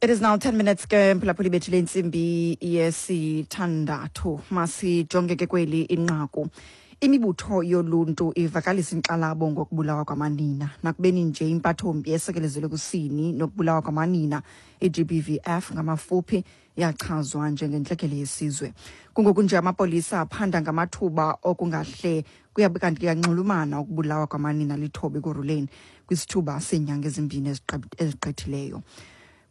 It is now 10 minutes ke mphulaphuli bethu lentsimbi yesithandathu. Masijonge ke kweli inqaku. Imibutho yoluntu ivakalisa inkxalabo ngokubulawa kwamanina. Nakubeni nje impathombi esekelezelwe kusini nokubulawa kwamanina i-GBVF ngamafuphi yachazwa njengentlekele yesizwe. Kungoku nje amapolisa aphanda ngamathuba okungahle kuyabe kanti kuyanxulumana ukubulawa kwamanina lithoba ekuruleni kwisithuba seenyanga ezimbini ezigqithileyo.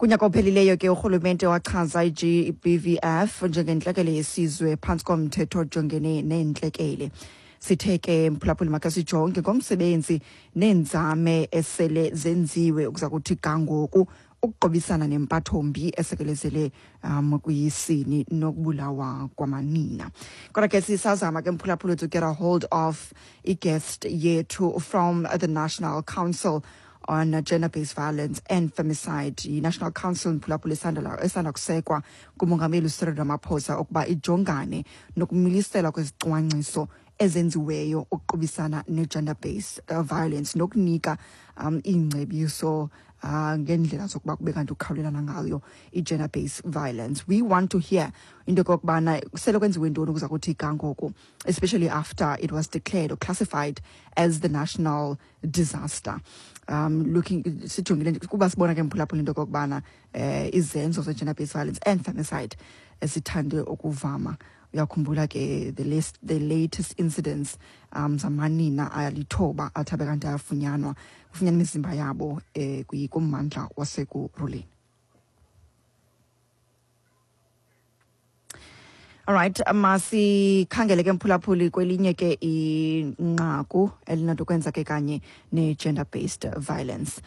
Kunyaka ophelileyo ke urhulumente wachaza i-GBVF njengentlekele yesizwe phantsi komthetho ojongene neentlekele. Sithe ke mphulaphuli makhe sijonge ngomsebenzi neenzame esele zenziwe ukuza kuthi ga ngoku ukuqobisana nempathombi esekelezele kwisini nokubulawa kwamanina. Kodwa ke sisazama ke mphulaphuli to get a hold of i-guest yethu from the National Council on Gender-Based Violence and Femicide. I-National Council mphulaphuli esanda kusekwa ngumongameli uCyril Ramaphosa ukuba ijongane nokumiliselwa kwezicwangciso ezenziweyo ukuqubisana ne-gender-based violence nokunika iingcebiso ngeendlela zokuba kube kanti ukhawulelana ngayo i-gender-based violence. We want to hear into yokokubana sele kwenziwe ntoni ukuza kuthi ga ngoku, especially after it was declared or classified as the national disaster. Looking sijongile kuba sibona ke mphulaphula into yokokubana izenzo ze-gender-based violence and femicide esithande ukuvama. Uyakhumbula ke the latest incidents zamanina alithoba athi abe kanti ayafunyanwa, kufunyanwa imizimba yabo kummandla wasekuruleni. All right, masikhangele ke mphulaphuli kwelinye ke inqaku elinento kwenza ke kanye ne-gender-based violence.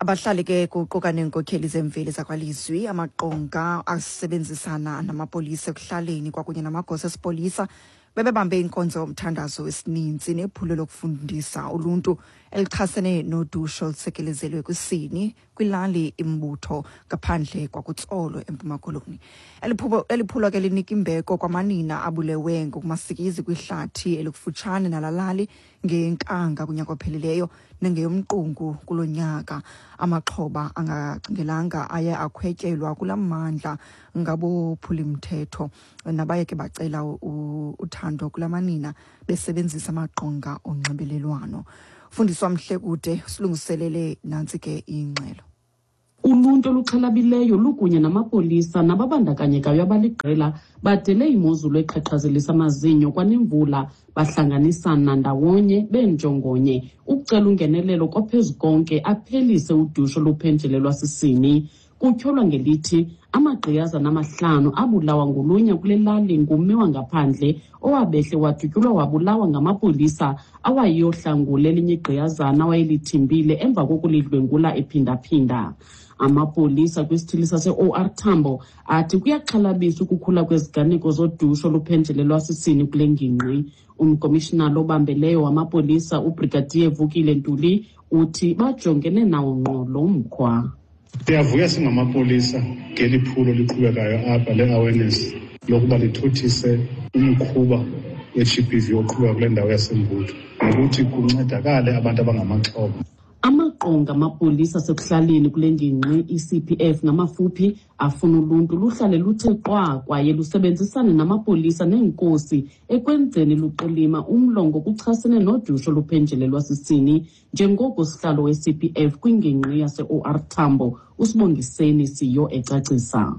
Abahlali ke kuquka neenkokheli zemveli zakwalizwi, amaqonga asebenzisana namapolisa ekuhlaleni kwakunye namagosa esipolisa bebebambe inkonzo yomthandazo wesininzi nephulo lokufundisa uluntu elichasene nodushe olusekelezelwe kwisini kwilali imbutho ngaphandle kwakuTsolo eMpuma Koloni. Eli phulo ke linika imbeko kwamanina abulewe ngokumasikizi kwihlathi elikufutshane nalalali ngenkanga kunyaka ophelileyo nengeyomqungu kulo nyaka. Amaxhoba angacingelanga aye akhwetyelwa kula mmandla ngabophulimthetho nabaye ke bacela uthando kula manina besebenzisa amaqonga onxibelelwano. Fundiswa Mhlekude silungiselele nantsi ke ingxelo. Uluntu oluxhalabileyo lukunye namapolisa nababandakanyekayo abaliqela badele imozulu eqhaqhazelisa amazinyo kwanemvula, bahlanganisana ndawonye benjongonye ukucela ungenelelo kophezu konke aphelise udushe oluphenjelelwa sisini. Kutyholwa ngelithi amagqiyazana amahlanu abulawa ngolunya kule lali ngummi wangaphandle owabehle wadutyulwa wabulawa ngamapolisa awayeyohlangula elinye igqiyazana awayelithimbile emva kokulidlwengula ephindaphinda. Amapolisa kwisithili sase-OR Tambo athi kuyaxhalabisa ukukhula kweziganeko zodushe oluphenjelelwa sisini kule ngingqi. Umkomishinala obambeleyo wamapolisa uBrigadier Vukile Ntuli uthi bajongene nawo ngqo lo mkhwa. Siyavuya singamapolisa ngeli phulo liqhubekayo apha le-awareness lokuba lithuthise umkhuba we-GBV oqhubeka kule ndawo yaseMbutho nokuthi kuncedakale abantu abangamaxhoba. Amaqonga amapolisa asekuhlaleni kule ngingqi i-CPF ngamafuphi afuna uluntu luhlale luthe qwa kwaye lusebenzisane namapolisa neenkosi ekwenzeni luqilima umlo ngokuchasene nodushe oluphenjelelwa sisini, njengoko sihlalo we-CPF kwingingqi yase-OR Tambo uSibongiseni Siyo ecacisa.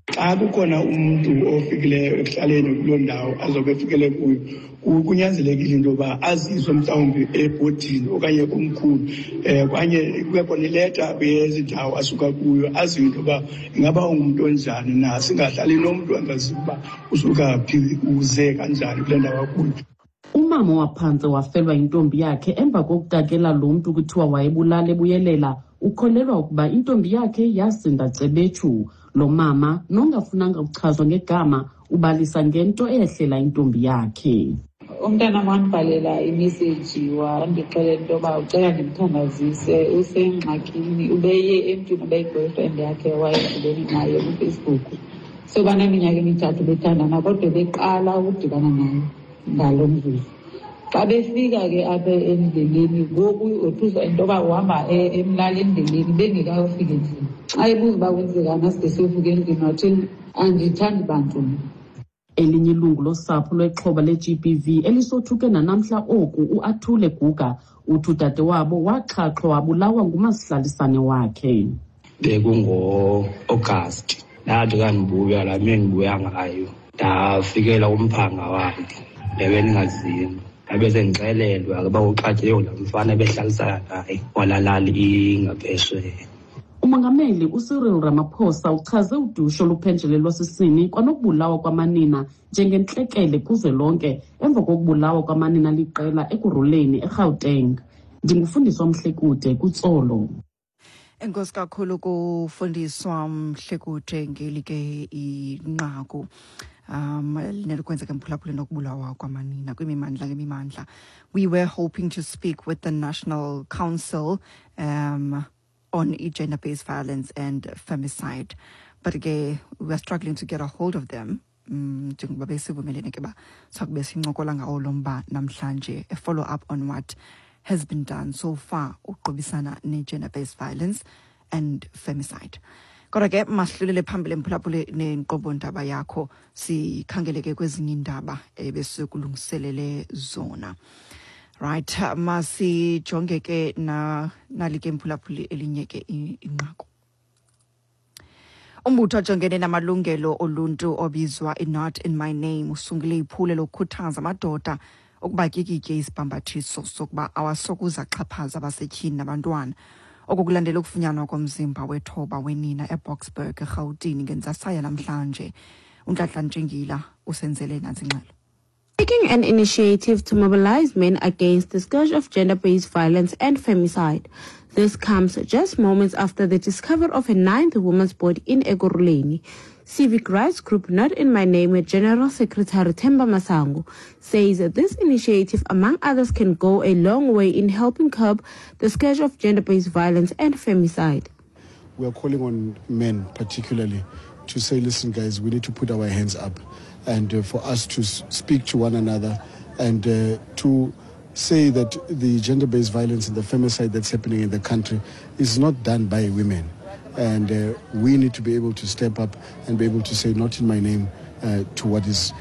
Xa kukhona umntu ofikileyo ekuhlaleni kuloo ndawo azobe efikele kuyo, kunyanzelekile into yoba aziswe mhlawumbi ebhodini okanye komkhulu, okanye kube khona ileta yezi ndawo asuka kuyo, aziwe into yoba ingaba ungumntu onjani na. Singahlali nomntu angaziwa uba usuka phi, uze kanjani kule ndawo akuyo. Umama waphantse wafelwa yintombi yakhe emva kokutakela lo mntu kuthiwa wayebulala ebuyelela ukholelwa ukuba intombi yakhe yasinda cebetshu. Lo mama nongafunanga ukuchazwa ngegama ubalisa ngento eyehlela intombi yakhe. Umntana wandibhalela imeseji wandixelela into yoba ucela ndimthandazise, usengxakini, ubeye emntwini obeyi-boyfriend yakhe wayedibene naye kuFacebook. So baneminyaka emithathu bethandana kodwa beqala ukudibana naye ngalo mzuzu. Xa befika ke apha endleleni ngoku wothuswa into yoba uhamba emlala endleleni bengekayofika endlini. Xa ebuza uba kwenzekani aside siyofika endlini wathini, andithandi bantu mna. Elinye ilungu losapho lwexhoba le-GBV elisothuke nanamhla oku, uAthule Guga, uthi udade wabo waxhaxhwa wabulawa ngumasihlalisane wakhe. Bekungo-Agasti, ndathi kandibuya laa mini ndibuya ngayo, ndafikela kumphanga wakhe ndebe ndingazinto. Ndabe sendixelelwa ke uba uxatyelwe laa mfana ebehlalisana naye walalali ingaphesheya. Umongameli uCyril Ramaphosa uchaze udushe oluphenjelelwa sisini kwanokubulawa kwamanina njengentlekele kuzwelonke emva kokubulawa kwamanina liqela Ekurhuleni eGauteng. Ndingufundiswa Mhlekude kuTsolo. Enkosi kakhulu kufundiswa Mhlekude ngeli ke inqaku nelikwenzeka emphulaphuli nokubulawa kwamanina kwimimandla ngemimandla. We were hoping to speak with the National Council on gender-based violence and femicide, but ke we are struggling to get a hold of them, njengoba besivumelene ke ba sakube sincokola ngawo lo mba namhlanje, a follow up on what has been done so far uqubisana ne-gender-based violence and femicide. Kodwa ke masihlulele phambili emphulaphuli nenkqubo ndaba yakho, sikhangele ke kwezinye iindaba ebesikulungiselele zona. Right, masijonge ke na nali ke mphulaphuli elinye ke inqaku. Umbutho ojongene namalungelo oluntu obizwa i-Not In My Name usungule iphulo lokukhuthaza amadoda ukuba tyikitye isibhambathiso sokuba awasokuze axhaphaze abasetyhini nabantwana. Oku kulandela ukufunyanwa komzimba wethoba wenina eBoksburg eRhawutini ngentsasa yanamhlanje. UNtlantla Ntshingila usenzele nantsi ingxelo. Taking an initiative to mobilize men against the scourge of gender-based violence and femicide. This comes just moments after the discovery of a ninth woman's body in Ekurhuleni. Civic rights group Not In My Name General Secretary Themba Masango says that this initiative, among others, can go a long way in helping curb the scourge of gender-based violence and femicide. We are calling on men particularly to say, listen guys, we need to put our hands up and for us to speak to one another and to say that the gender-based violence and the femicide that's happening in the country is not done by women. And we need to be able to step up and be able to say, not in my name, to what is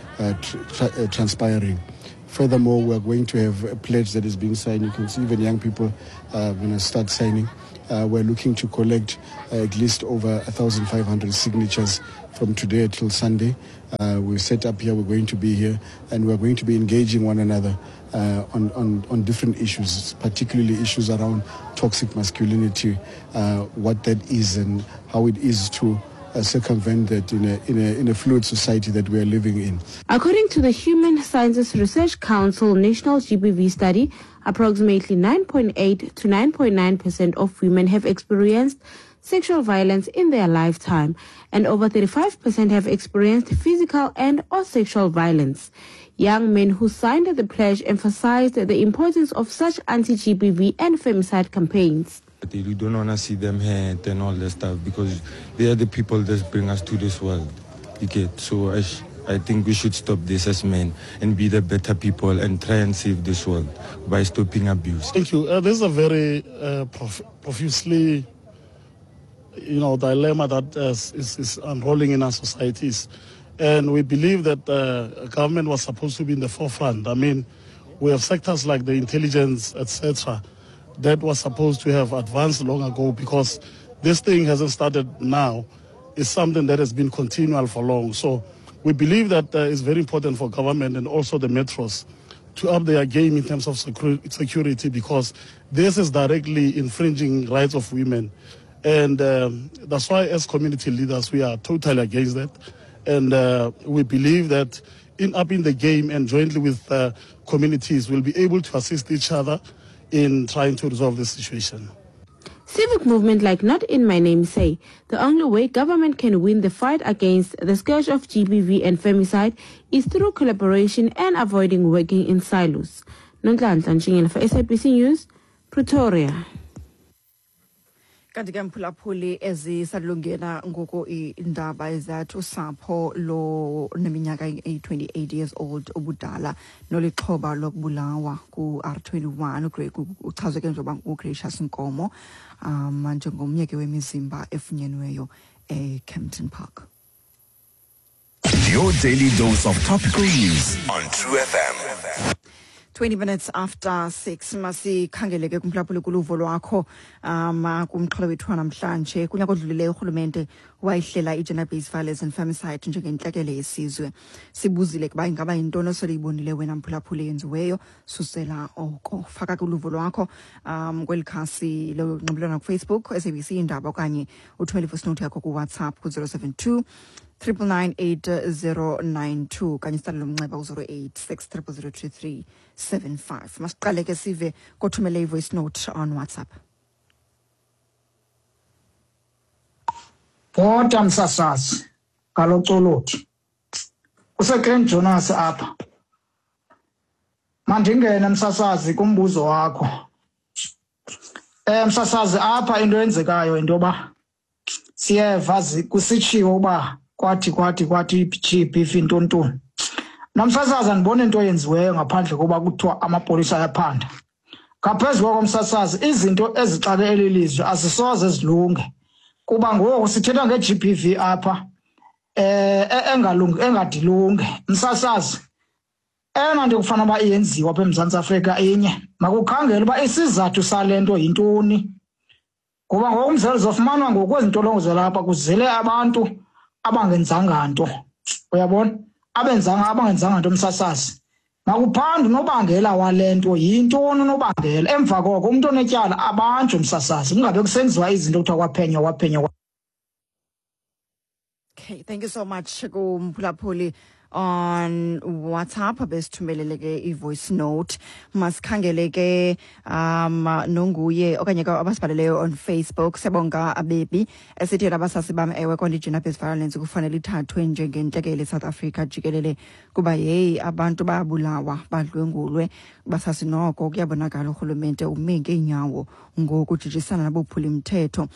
transpiring. Furthermore, we are going to have a pledge that is being signed. You can see even young people are going to start signing. We're looking to collect at least over 1,500 signatures from today till Sunday. We're set up here, we're going to be here, and we're going to be engaging one another on different issues, particularly issues around toxic masculinity, what that is and how it is to circumvent that in a fluid society that we are living in. According to the Human Sciences Research Council National GBV Study, approximately 9.8 to 9.9% of women have experienced sexual violence in their lifetime, and over 35% have experienced physical and or sexual violence. Young men who signed the pledge emphasized the importance of such anti-GBV and femicide campaigns. You don't want to see them hurt and all that stuff because they are the people that bring us to this world. You get? So I think we should stop this as men and be the better people and try and save this world by stopping abuse. Thank you. This is a very profusely, dilemma that is unrolling in our societies. And we believe that government was supposed to be in the forefront. We have sectors like the intelligence, etc., that was supposed to have advanced long ago, because this thing hasn't started now. It's something that has been continual for long. So we believe that it's very important for government and also the metros to up their game in terms of security, because this is directly infringing rights of women. And that's why as community leaders, we are totally against that. And we believe that in upping the game and jointly with communities, we'll be able to assist each other in trying to resolve this situation. Civic movement like Not In My Name say the only way government can win the fight against the scourge of GBV and femicide is through collaboration and avoiding working in silos. Nonhlanhla Ntshingila for SABC News, Pretoria. Kanti ke, mphulaphuli, ezisalungena ngoku iindaba ezathi usapho lo neminyaka eyi-28 years old ubudala nolixhoba lokubulawa ku-R21, uchazwe ke njengoba nguGracious Nkomo, njengomnye ke wemizimba efunyenweyo eKempton Park. Your daily dose of topical news on True FM. 20 minutes after 6. Masikhangele ke, kumphulaphuli, kuluvo lwakho kumxholo wethu wanamhlanje. Kunyaka odlulileyo urhulumente wayihlela i-gender based violence and femicide njengentlekele yesizwe. Sibuzile kuba ingaba yintoni osele uyibonile wena, mphulaphuli, yenziweyo susela oko? Faka kuluvo lwakho kweli khasi lonxibelelwano kuFacebook, SABC Indaba, okanye uthumele ivoice note yakho kuWhatsApp ku-072 999 8092 kanye sitsalele umnxeba ku-086 0002375. Masiqale ke sive kothumele i-voice note on WhatsApp. Bhota, msasazi, ngalocolothi kuseGrand Jonas apha. Mandingene, msasazi, kumbuzo wakho. Msasazi, apha into eyenzekayo into yoba siyeva kusitshiwo uba kwathi kwathi kwathi i-GBV intontoni. Namsasazi, andiboni into eyenziweyo ngaphandle koba kuthiwa amapolisa ayaphanda. Ngaphezu koko, msasazi, izinto ezixake eli lizwe azisoze zilunge, kuba ngoku sithetha nge-GBV apha engalungi, engadilunge, msasazi. Eyona nto kufanele uba iyenziwa apha eMzantsi Afrika inye, makukhangele uba isizathu sale nto yintoni, ngoba ngoku umzekelo zofumanwa ngoku kwezi ntolongo zalapha kuzele abantu abangenzanga nto, uyabona, abenzanga, abangenzanga nto. Msasazi, makuphandwe unobangela wale nto, yintoni unobangela. Emva koko umntu onetyala abanjwe, msasazi, kungabe kusenziwa izinto kuthiwa kwaphenywa, kwaphenywa. Okay, thank you so much kumphulaphuli on WhatsApp besithumelele ke i-voice note. Masikhangele ke nonguye okanye ke abasibhaleleyo on Facebook. Siyabonga abebi esithi yena, "Abasasi bam, ewe kona i-gender based violence kufanele ithathwe njengentlekele eSouth Africa jikelele, kuba yeyi, abantu bayabulawa, badlwengulwe. Basasi, noko kuyabonakala urhulumente ume ngeenyawo ngokujijisana nabophuli-mthetho.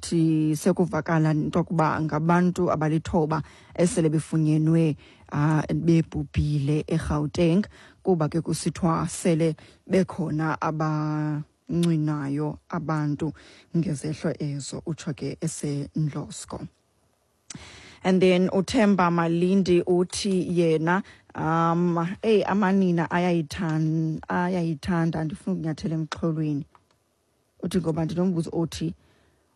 Thi sekuvakala into yokuba ngabantu abalithoba esele befunyenwe bebhubhile eGauteng, kuba ke kusithiwa sele bekhona abancwinayo abantu ngezehlo ezo," utsho ke eseNdlosko. And then uThemba Malindi uthi yena, "Hey, amanina ayayithanda, ayayithanda, andifuna ukunyathela emxholweni." Uthi, "Ngoba ndinombuzo othi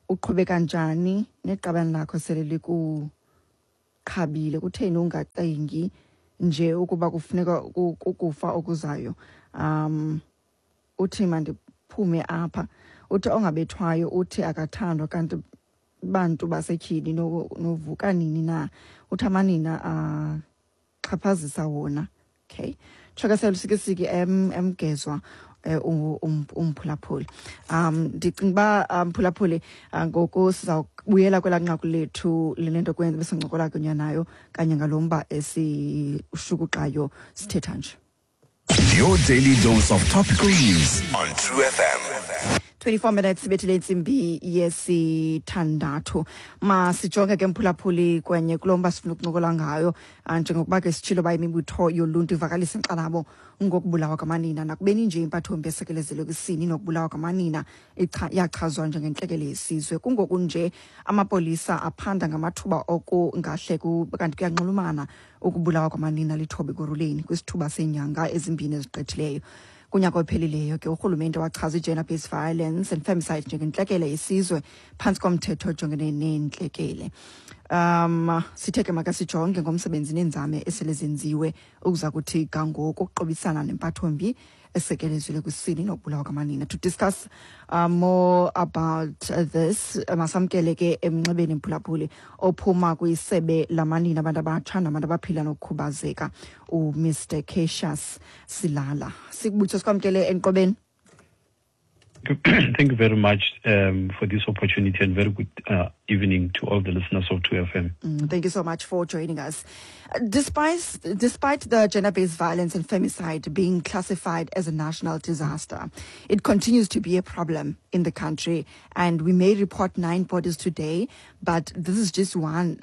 uqhubeka njani neqabane lakho sele likuqhabile? Kutheni ungacingi nje ukuba kufuneka kukufa okuzayo?" Uthi mandiphume apha. Uthi ongabethwayo uthi akathandwa, kanti bantu basetyhini novuka nini na? Uthi amanina axhaphazisa wona. Okay, tshokasela usikisiki emgezwa umphulaphuli. Ndicinga uba, mphulaphuli, ngoku sizawubuyela kwelaa nqaku lethu linento kwenza besincokola kunye nayo kanye ngalo mba esishukuxayo sithetha nje. Your daily dose of topical news on True FM. 24 minutes ibethile intsimbi yesithandathu. Masijonge ke, mphulaphuli, kwenye kulo mba sifuna ukuncokola ngayo. Njengokuba ke sitshilo uba imibutho yoluntu ivakalisa inkxalabo ngokubulawa kwamanina, nakubeni nje impathombi esekelezelwe kwisini nokubulawa kwamanina yachazwa njengentlekele yesizwe, kungoku nje amapolisa aphanda ngamathuba okungahle kanti kuyanxulumana ukubulawa kwamanina lithoba Ekurhuleni kwisithuba seenyanga ezimbini ezigqithileyo. Kunyaka ophelileyo ke urhulumente wachaza i-gender based violence and femicide njengentlekele yesizwe phantsi komthetho ojongene neentlekele. Sithe ke makasijonge ngomsebenzi neenzame esele zenziwe ukuza kuthi gangoku ukuqobisana nempathombi esekelezwe kwisini nokubulawa kwamanina. To discuss more about this, masamkele ke emnxebeni, mphulaphuli, ophuma kwisebe lamanina, abantu abatsha nabantu abaphila nokukhubazeka, uMr Cassius Silala. Sikubutho, sikwamkele enqobeni. Thank you very much for this opportunity and very good evening to all the listeners of 2FM. Thank you so much for joining us. Despite the gender-based violence and femicide being classified as a national disaster, it continues to be a problem in the country. And we may report 9 bodies today, but this is just one.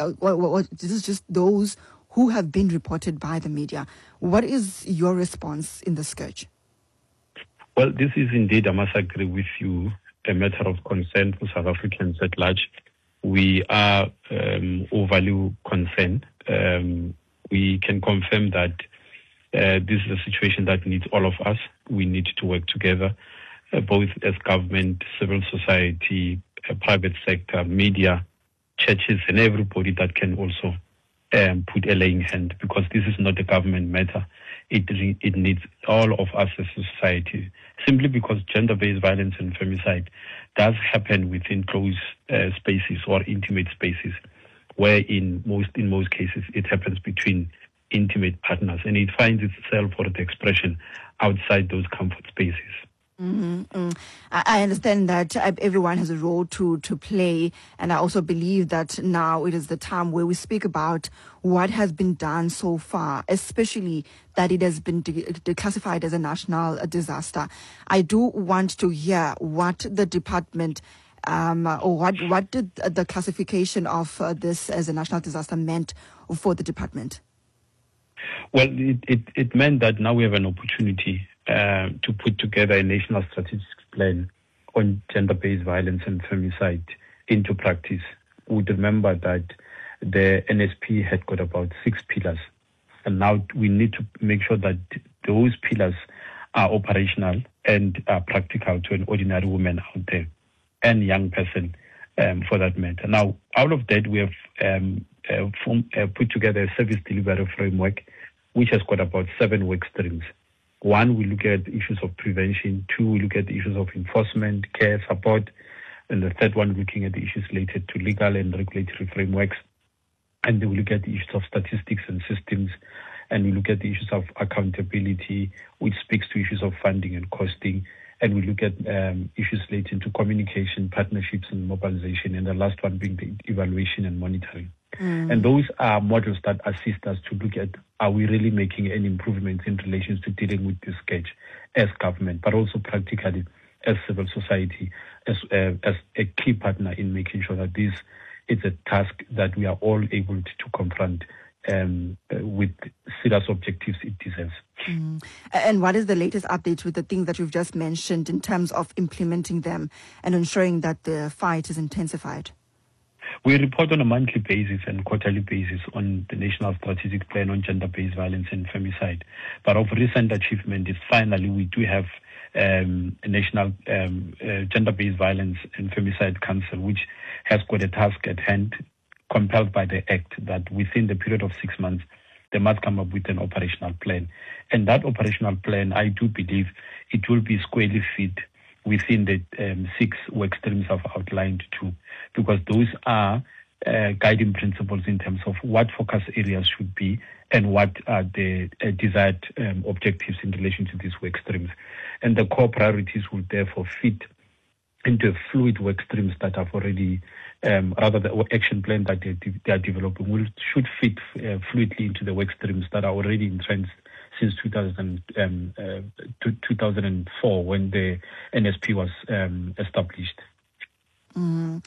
This is just those who have been reported by the media. What is your response in the scourge? Well, this is indeed, I must agree with you, a matter of concern for South Africans at large. We are overly concerned. We can confirm that this is a situation that needs all of us. We need to work together, both as government, civil society, private sector, media, churches, and everybody that can also put a laying hand, because this is not a government matter. It needs all of us as a society, simply because gender-based violence and femicide does happen within closed spaces or intimate spaces, where in most cases it happens between intimate partners, and it finds itself or the expression outside those comfort spaces. Mm-hmm. I understand that everyone has a role to play, and I also believe that now it is the time where we speak about what has been done so far, especially that it has been declassified as a national disaster. I do want to hear what the department or what did the classification of this as a national disaster meant for the department? Well, it meant that now we have an opportunity to put together a national strategic plan on gender-based violence and femicide into practice. We would remember that the NSP had got about 6 pillars, and now we need to make sure that those pillars are operational and are practical to an ordinary woman out there and young person for that matter. Now, out of that, we have put together a service delivery framework which has got about 7 work streams. 1, we look at issues of prevention. 2, we look at the issues of enforcement, care, support. And the third one, looking at the issues related to legal and regulatory frameworks. And then we look at the issues of statistics and systems. And we look at the issues of accountability, which speaks to issues of funding and costing. And we look at issues relating to communication, partnerships and mobilization. And the last one being the evaluation and monitoring. And those are models that assist us to look at, are we really making any improvements in relation to dealing with this scourge as government, but also practically as civil society, as a key partner in making sure that this is a task that we are all able to confront with serious objectives it deserves. And what is the latest update with the things that you've just mentioned in terms of implementing them and ensuring that the fight is intensified? We report on a monthly basis and quarterly basis on the National Strategic Plan on Gender-Based Violence and Femicide. But of recent achievement is finally we do have a National Gender-Based Violence and Femicide Council, which has got a task at hand compelled by the Act that within the period of 6 months, they must come up with an operational plan. And that operational plan, I do believe it will be squarely fit within the 6 work streams I've outlined too, because those are guiding principles in terms of what focus areas should be and what are the desired objectives in relation to these work streams. And the core priorities will therefore fit into fluid work streams that have already, rather the action plan that they are developing should fit fluidly into the work streams that are already entrenched since 2004 when the NSP was established. I'm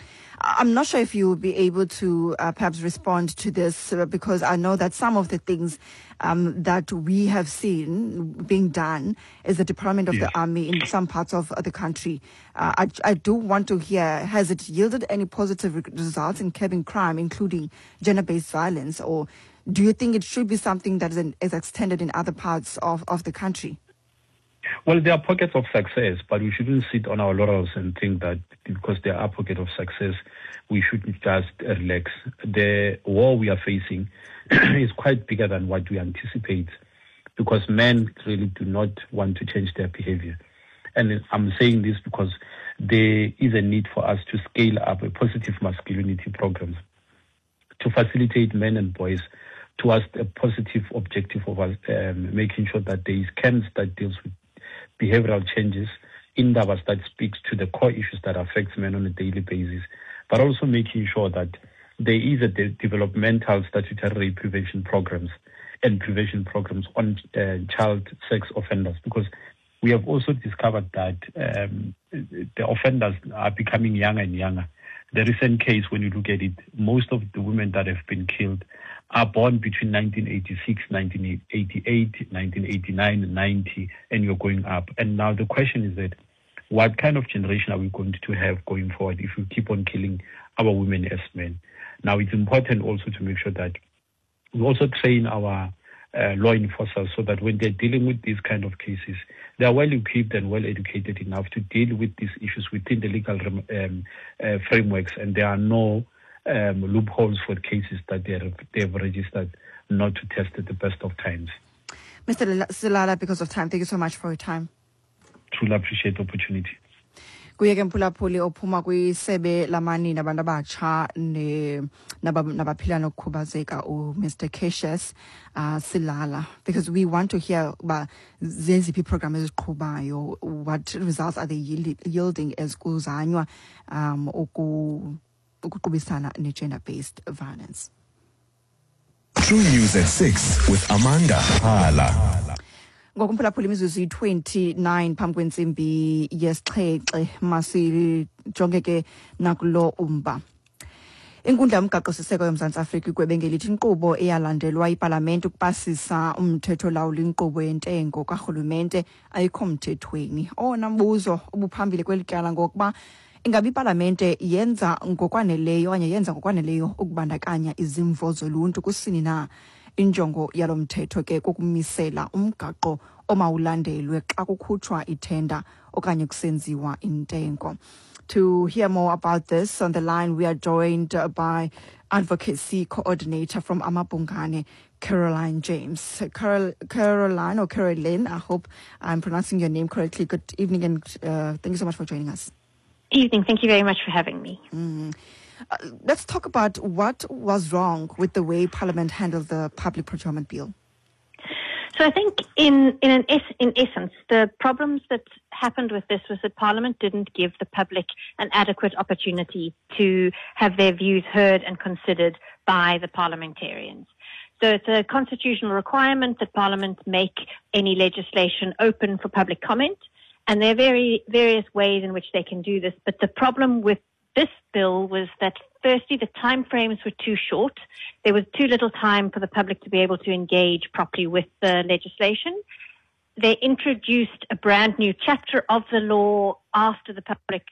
not sure if you will be able to perhaps respond to this because I know that some of the things that we have seen being done is the deployment of the army in some parts of the country. I do want to hear, has it yielded any positive results in curbing crime, including gender-based violence, or do you think it should be something that is extended in other parts of the country? Well, there are pockets of success, but we shouldn't sit on our laurels and think that because there are pockets of success, we shouldn't just relax. The war we are facing is quite bigger than what we anticipate, because men really do not want to change their behavior. And I'm saying this because there is a need for us to scale up a positive masculinity programs to facilitate men and boys towards a positive objective of us, making sure that there is camps that deals with behavioral changes indabas that speaks to the core issues that affects men on a daily basis, but also making sure that there is a developmental statutory prevention programs and prevention programs on child sex offenders, because we have also discovered that the offenders are becoming younger and younger. The recent case, when you look at it, most of the women that have been killed are born between 1986, 1988, 1989, 90, and you're going up. And now the question is that what kind of generation are we going to have going forward if we keep on killing our women as men? Now, it's important also to make sure that we also train our law enforcers so that when they're dealing with these kind of cases, they are well equipped and well educated enough to deal with these issues within the legal frameworks, and there are no loopholes for cases that they have registered not to test at the best of times. Mr. Selala, because of time, thank you so much for your time. Truly appreciate the opportunity. Kuye ke mphulaphuli ophuma kwisebe lamanina abantu abatsha nabaphila nokukhubazeka uMr Cassius Selala, because we want to hear uba zeziphi iiprogram eziqhubayo, what results are they yielding as kuzanywa ukuqubisana ne-gender-based violence. True News at 6 with Amanda Hala. Ngokumphulaphula imizuzu yi-29 phambi kwentsimbi yesixhenxe, masijonge ke nakulo umba. Inkundla yomgaqo-siseko yoMzantsi Afrika igwebe ngelithi inkqubo eyalandelwa ipalamente ukupasisa umthetho olawula inkqubo yentengo karhulumente ayikho mthethweni. Owona mbuzo obuphambili kweli tyala ngokuba ingabe ipalamente yenza ngokwaneleyo okanye yenza ngokwaneleyo ukubandakanya izimvo zoluntu kusini na. Injongo yalo mthetho ke kukumisela umgaqo omawulandelwe xa kukhutshwa ithenda okanye kusenziwa intengo. To hear more about this, on the line we are joined by Advocacy Coordinator from amaBhungane, Caroline James. Caroline or Caroline, I hope I'm pronouncing your name correctly. Good evening and thank you so much for joining us. Evening. Thank you very much for having me. Let's talk about what was wrong with the way Parliament handled the public procurement bill. So I think in essence, the problems that happened with this was that Parliament didn't give the public an adequate opportunity to have their views heard and considered by the parliamentarians. So it's a constitutional requirement that Parliament make any legislation open for public comment. And there are very various ways in which they can do this. But the problem with this bill was that, firstly, the timeframes were too short. There was too little time for the public to be able to engage properly with the legislation. They introduced a brand new chapter of the law after the public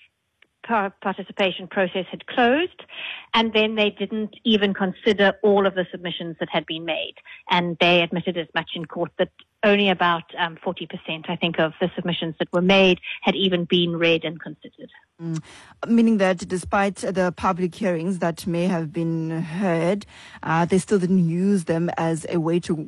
participation process had closed, and then they didn't even consider all of the submissions that had been made. And they admitted as much in court that only about 40%, I think, of the submissions that were made had even been read and considered. Meaning that despite the public hearings that may have been heard, they still didn't use them as a way to